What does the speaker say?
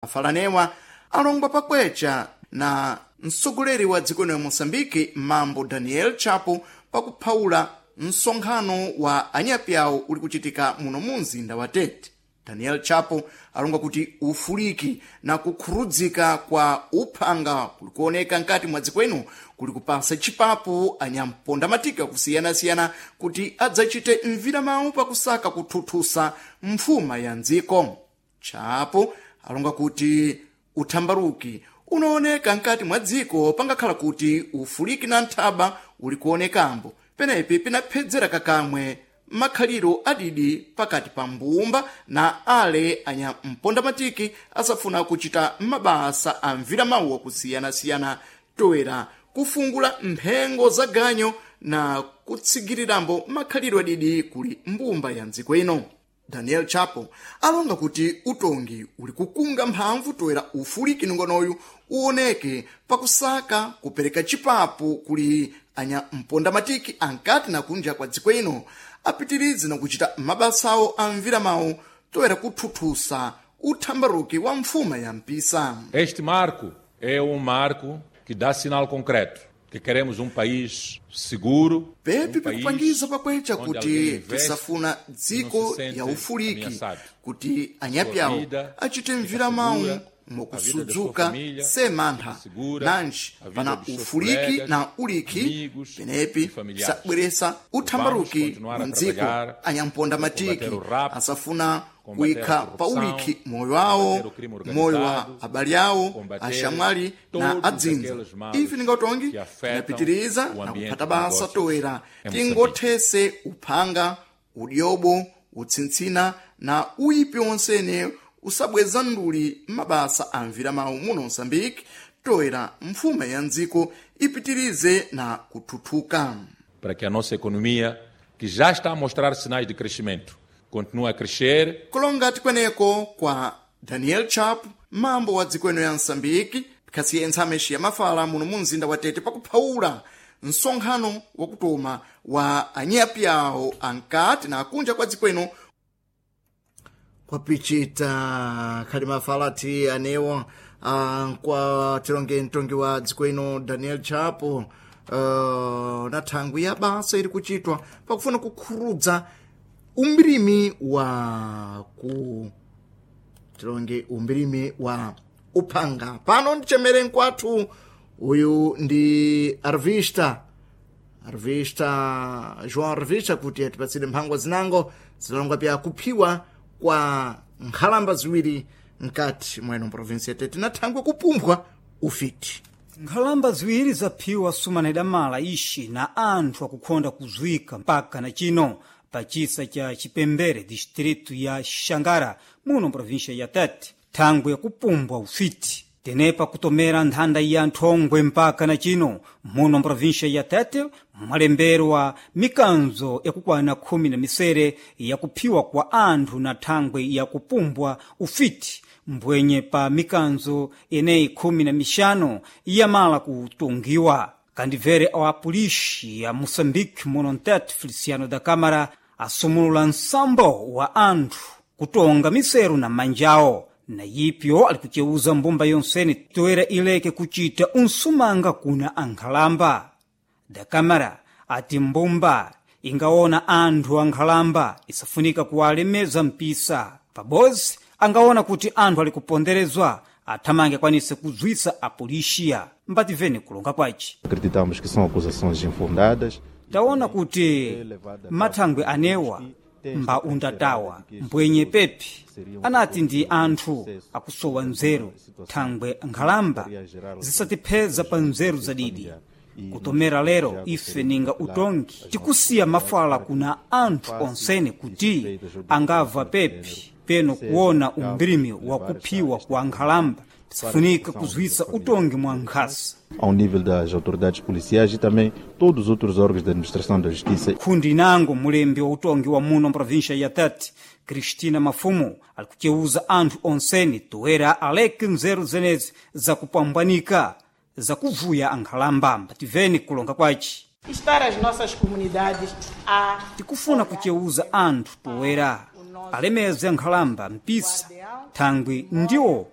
Mafalanewa alongwa pakwecha na mtsogoleri wa dziko lino ya Moçambique Mambo Daniel Chapo pakuphawula msonkhano wa anyapi awo uli kuchitika muno mu mzinda wa Tete. Daniel Chapo alonga kuti ufuliki na kukhurudzika kwa uphanga kuli kuoneka nkati mwa dziko ino kuli kupasa chipapu anyamponda matika kusiyanasiyana kuti adzachite mviramawu pakusaka kuthuthusa mfuma ya mdziko. Chapo alonga kuti uthambaruki unaoneka nkati mwa dziko pangakhala kuti ufuliki na nthaba uli kuonekambo penepi pinaphedzera kakamwe makhaliro adidi pakati pa mbumba na ale anyampondamatiki asafuna kuchita mabasa a mviramawu akusiyana-siyana toera kufungula mphengo za ganyo na kutsigirirambo makhaliro adidi kuli mbumba ya mdziko ino. Daniel Chapo alonga kuti utongi uli kukunga mphamvu toera ufuliki nongonoyu uoneke pakusaka kupereka chipapu kuli anyampondamatiki ankati na kunja kwa dziko ino apitirize na kuchita mabasawo a mviramawu toera kuthuthusa uthambaruki wa mfuma ya mpisa. Este marco é marco que dá sinal concreto que queremos país seguro. Pepi um país pikupangiza pakwecha onde alguém kuti investe tisafuna e não dziko se sente ya ufuliki ameaçado. kuti anyapi awo vida achite fica mviramawu segura, a vida da sua mokusudzuka família semantha fica segura, nanji a vida pana dos seus ufuliki colegas, na uliki amigos penepi e familiares. sabweresa uthambaruki Vamos continuar wa a mdziko. trabalhar Anyamponda para matiki combater o rapto, asafuna combater kuyikha a pa corrupção, uliki moyo wawo, combater o crime moyo wa organizado, abale awo, combater axamwali na todos adzinza. aqueles males Ife ningatongi que afetam tinapitiriza o na ambiente kuphata de basa negócios toera em tingothese uphanga, udyobo, utsintsina na uyipi wonsene usabweza nduli mabasa a mviramawu muno Moçambique toera mfuma ya mdziko ipitirize na kuthuthuka. Para que a nossa economia, que já está a mostrar sinais de crescimento, continue a crescer. Kulonga tikweneko kwa Daniel Chapo, mambo wa dziko ino ya Moçambique, khasiye ntsameshi ya mafala muno mu mzinda wa Tete pakuphawula msonkhano wakutoma wa anyapi awo ankati na akunja kwa dziko ino kwapichita khali mafala ati anewo kwa tilonge mtongi wa dziko ino Daniel Chapo na thangwi ya basa ili kuchitwa pakufuna kukhurudza umbirimi wa ku tilonge umbirimi wa uphanga. Pano ndichemere nkwathu uyu ndi Arvista Arvista João Arvista kuti atipatsire mphangwa zinango zilongwa pya kuphiwa kwa nkhalamba ziwiri mkati mweno provinsi ya Tete na thangwe kupumphwa ufiti. Nkhalamba ziwiri zaphiwa sumana idamala ixi na anthu akukhonda kuzwika mpaka na chino pachisa cha Chipembere, distritu ya Xangara, muno província ya Tete, thangwe yakupumbwa ufiti. Tenepa kutomera nthanda ya nthongwe mpaka na chino muno província ya Tete mwalemberwa mikanzo yakukwana 17 yakuphiwa kwa anthu na thangwe yakupumbwa ufiti, mbwenye pa mikanzo eneyi 15 yamala kutungiwa. Kandibvere awa apolisi ya Moçambique muno mtete Feliciano da Câmara asumulula nsambo wa anthu kutonga miseru na manjawo, na yipyo ali kuceuza mbumba yonsene toera ileke kucita unsumanga kuna ankhalamba. Da Câmara ati mbumba ingaona anthu ankhalamba isafunika kuwalemeza mpisa pabozi angaona kuti anthu ali kuponderezwa athamange akwanise kuzwisa apolisiya. Mbativene kulonga kwaci. Acreditamos que são acusações infundadas. Taona kuti mathangwe anewa mba undatawa mbwenye pepi anati ndi anthu akusowa nzeru, thangwe nkhalamba zisatipheza pa nzeru zadidi. Kutomera lero ife ninga utongi tikusiya mafala kuna anthu onsene kuti angava pepi peno kuona umbirimi wakuphiwa kwa nkhalamba tisafunika kuzwisa utongi mwa nkhasa. Ao nível das autoridades policiais e também todos os outros órgãos da administração da justiça. Khundi nango mulembi wa utongi wa muno província ya Tete, Cristina Mafumo, ali kuceuza anthu onsene toera aleke nzeru zenezi zakupambanika zakuvuya ankhalamba. Mbativeni kulonga kwaci. Estar as nossas comunidades a Tikufuna kuceuza anthu toera alemeze nkhalamba mpisa, thangwi ndiwo